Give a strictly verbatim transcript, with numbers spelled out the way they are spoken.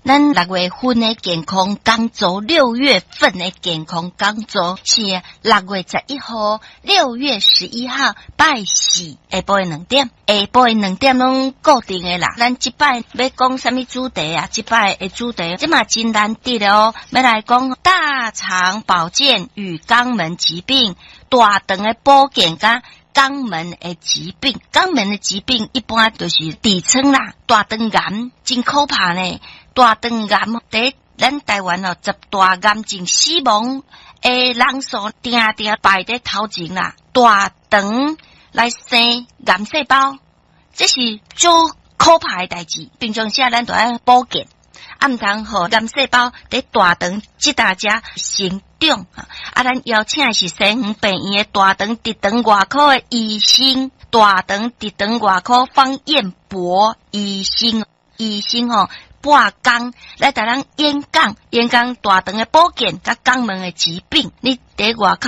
咱六月份的健康講座，六月份的健康講座是六月十一號，六月十一號拜四下晡的兩點，下晡的兩點攏固定的啦。咱這擺欲講啥物主題啊？這擺的主題這嘛真難得哦，欲來講大腸保健與肛門疾病，大腸的保健佮肛門的疾病，肛門的疾病一般就是痔瘡啦，大腸癌真可怕呢。大腸癌佇咱台灣哦，十大癌症死亡的人數，定定排佇頭前啦。大腸來生癌細胞，這是足可怕的代誌。平常時咱著愛保健，啊，毋通予癌細胞佇大腸這搭遮成長。啊，咱邀請的是西園病院的大腸直腸外科的醫生，大腸直腸外科方彥博醫生，醫生吼半工來共咱演講，演講大腸的保健佮肛門的疾病。你佇外口。